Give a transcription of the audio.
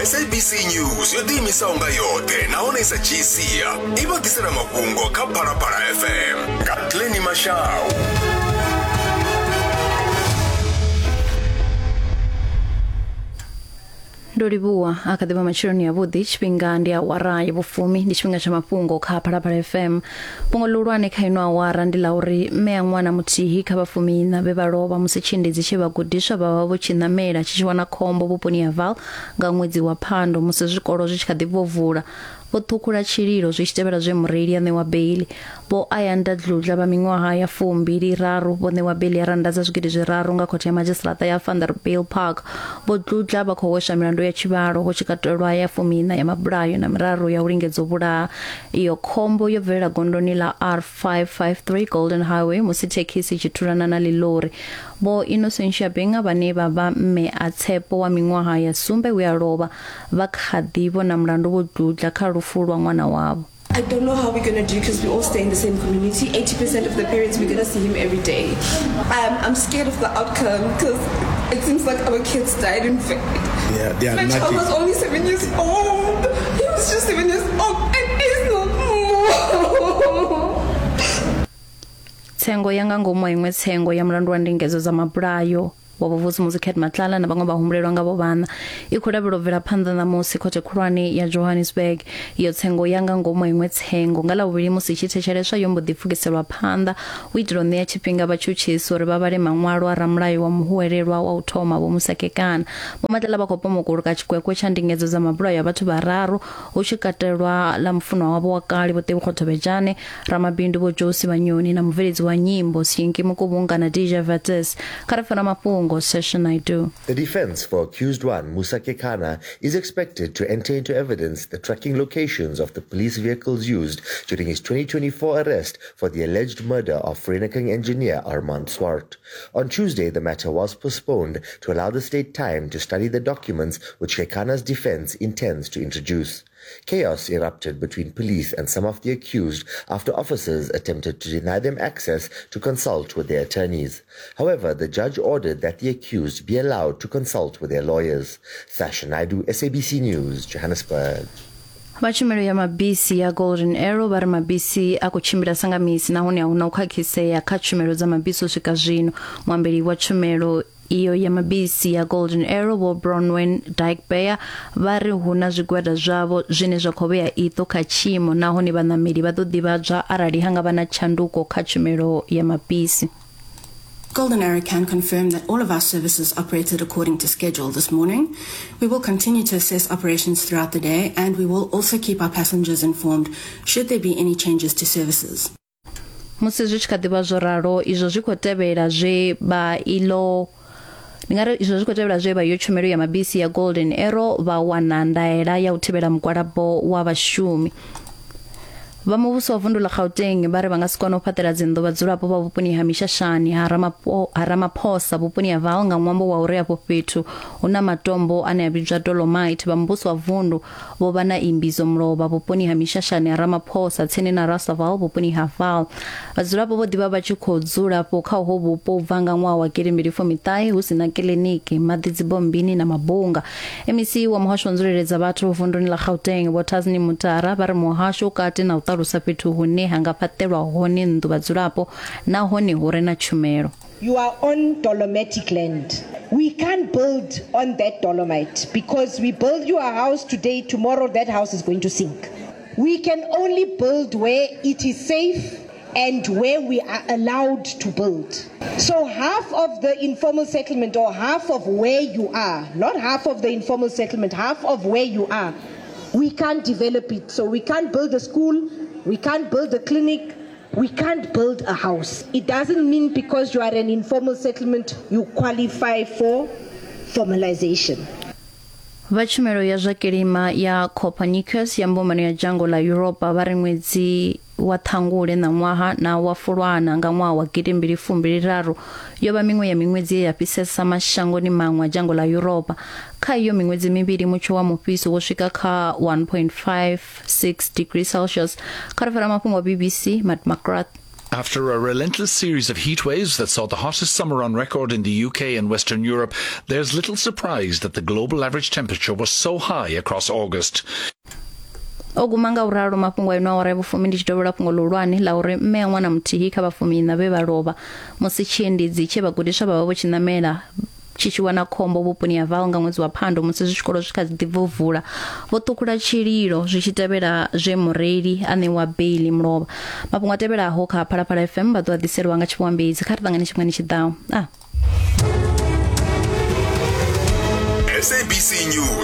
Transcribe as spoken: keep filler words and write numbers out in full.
S A B C News yo ḓiimisaho nga yoṱhe nahone sa dzhii sia i vha ḓisela mafhungo kha Phalaphala F M nga Glennie Mashau. Ndo livhuwa a kha ḓivha matsheloni ya vhuḓi tshifhinga ndi awara ya vhufumi ndi tshifhinga tsha mafhungo kha Phalaphala F M. Fhungo ḽihulwane kha ino awara ndi ḽa uri mme a ṅwana muthihi kha vhafumi iṋa vhe vha lovha musi tshiendedzi tshe vhagudiswa vha vha vho tshi ṋamela tshi tshi wana khombo vhuponi ha Vaal nga ṅwedzi wa Phando musi zwikolo zwi tshi kha ḓi bva u vula. Vho ṱhukhula tshililo zwi tshi tevhela zwe mureili a ṋewa beili. Vho Ayanda Dludla vha miṅwaha ya fumbili raru vho ṋewa beili ya rannda dza zwigidi zwiraru nga khothe ya madzhisiṱiraṱa ya Vanderbijl Park. Vho Dludla vha khou hweswa milandu ya tshivhalo hu tshi katelwa ya fumiiṋa ya mabulayo na miraru ya u lingedza u vhulaha. Iyo khombo yo bvelela gondoni ḽa R five five three Golden Highway musi thekhisi i tshi thulana na ḽilori. Vho Innocentia Benga vhane vha vha mme a Tshepo wa miṅwaha ya sumbe we a lovha vha kha ḓi vhona mulandu Vho Dludla kha lufu lwa ṅwana wavho. I don't know how we're going to do because we all stay in the same community. eighty percent of the parents, we're going to see him every day. Um, I'm scared of the outcome because it seems like our kids died in vain. Yeah, they are My child was only seven years old. He was just seven years old and he's not more. Tsengo ya nga ngomu iṅwe tsengo ya mulandu wa ndingedzo dza mabulayo wa Vho Cat Matlala na vhaṅwe vhahumbulelwa nga vho vhana i khou lavhelwa bvela phanḓa ṋamusi khothe khulwane ya Johannesburg. Iyo tsengo ya nga ngomu iṅwe tsengo nga ḽavhuvhili musi i tshi thetsheleswa yo mbo ḓi pfukiselwa phanḓa u itela u ṋea tshifhinga vhatshutshisi uri vha vhale maṅwalo a ramulayo wa muhuwelelwa wa u thoma Vho Musa Kekana. Vho Matlala vha khou pomokuluka tshikwekwe tsha ndingedzo dza mabulayo ya vhathu vhararu hu tshi katelwa ḽa mufunwa wavho wa kale Vho Tebogo Thobejane, ramabindu Vho Josi Vhanyoni na mubveledzi wa nyimbo Sinki Mukubunga na D J Vates. Kha ri fana mafhungo Session I do. The defense for accused one, Musa Kekana, is expected to enter into evidence the tracking locations of the police vehicles used during his twenty twenty-four arrest for the alleged murder of Vereeniging engineer Armand Swart. On Tuesday, the matter was postponed to allow the state time to study the documents which Kekana's defense intends to introduce. Chaos erupted between police and some of the accused after officers attempted to deny them access to consult with their attorneys. However, the judge ordered that the accused be allowed to consult with their lawyers. Sasha Naidu, S A B C News, Johannesburg. Vha tshumelo ya mabisi ya Golden Arrow vha ri mabisi a khou tshimbila sa misi nahone a huna u khakhisea kha tshumelo dza mabisi u swika zwino. Muambeli wa tshumelo iyo ya mabisi ya Golden Arrow Vho Bronwyn Dykbeyer vha ri hu na zwigwada zwavho zwine zwa khou vhea iṱo kha tshiimo nahone vhaṋameli vha ḓo ḓivhadzwa arali ha nga vha na tshanduko kha tshumelo ya mabisi. Golden Arrow can confirm that all of our services operated according to schedule this morning. We will continue to assess operations throughout the day and we will also keep our passengers informed should there be any changes to services. Musi zwi tshi kha ḓivha zwo ralo izwo zwi khou tevhela zwe vha ilo Ndi nga ri izwo zwi khou tevhela zwe vha yo tshumelo ya mabisi ya Golden Arrow vha wana ndaela ya u thivhela mugwalabo wa vhashumi. Vha muvhuso wa vundu ḽa Gauteng vha ri vha nga si kone u fhaṱela dzinnḓu vhadzulapo vha vhuponi ha Mishashani ha Ramapo ha Ramaphosa vhuponi ha Vaal nga ṅwambo wa uri afho fhethu hu na matombo ane a vhidzwa dolomite. Vha muvhuso wa vundu vho vha na imbizo mulovha vhuponi ha Mishashani ha Ramaphosa tsini na Rasaval vhuponi ha Vaal. Vhadzulapo vho ḓivha vha tshi khou dzulapo kha uho vhupo u bva nga ṅwaha wa gidi mbili fumiṱahe hu si na kiḽiniki, maḓi dzibombini na mabunga. M E C wa muhasho wa nzulele dza vhathu vunduni ḽa Gauteng Vho Tasni Mutara vha ri muhasho u kati na u ṱalusa fhethu hune ha nga fhaṱelwa hone nnḓu vhadzulapo nahone hu re na tshumelo. You are on dolomitic land. We can't build on that dolomite because we build you a house today, tomorrow that house is going to sink. We can only build where it is safe and where we are allowed to build. So half of the informal settlement or half of where you are, not half of the informal settlement, half of where you are, we can't develop it. So we can't build a school, we can't build a clinic, we can't build a house. It doesn't mean because you are an informal settlement, you qualify for formalization. Vha tshumelo ya zwa kilima ya Copernicus ya mbumbano ya dzhango ḽa Europa vha ri ṅwedzi wa Ṱhangule na ṅwaha na wa Fulwana nga ṅwaha wa gidi mbili fumbili raru yo vha miṅwe ya miṅwedzi ya fhisesa mashangoni maṅwe a dzhango ḽa Europa. Kha iyo miṅwedzi mivhili mutsho wa mufhiso wo swika kha one point five six degrees Celsius. Kha ri fara mafhungo a B B C Matt McGrath. After a relentless series of heat waves that saw the hottest summer on record in the U K and Western Europe, there's little surprise that the global average temperature was so high across August. O guma nga uralo mafhungo a ino awara ya vhufumi ndi tshi dovholola fhungo ḽihulwane ḽa uri mme a ṅwana muthihi kha vhafumi iṋa vhe vha lovha musi tshiendedzi tshe vhagudiswa vha vha vho tshi ṋamela tshi tshi wana khombo vhuponi ha Vaal nga ṅwedzi wa Phando musi zwikolo zwi kha ḓi bva u vula vho ṱhukhula tshililo zwi tshi tevhela zwe mureili a ṋewa beili mulovha. Mafhungo a tevhelaho kha Phalaphala F M vha ḓo a ḓiselwa nga tshifhiwambedzi. Kha ri ṱangane tshifhingani tshi ḓaho. Ah. S A B C News.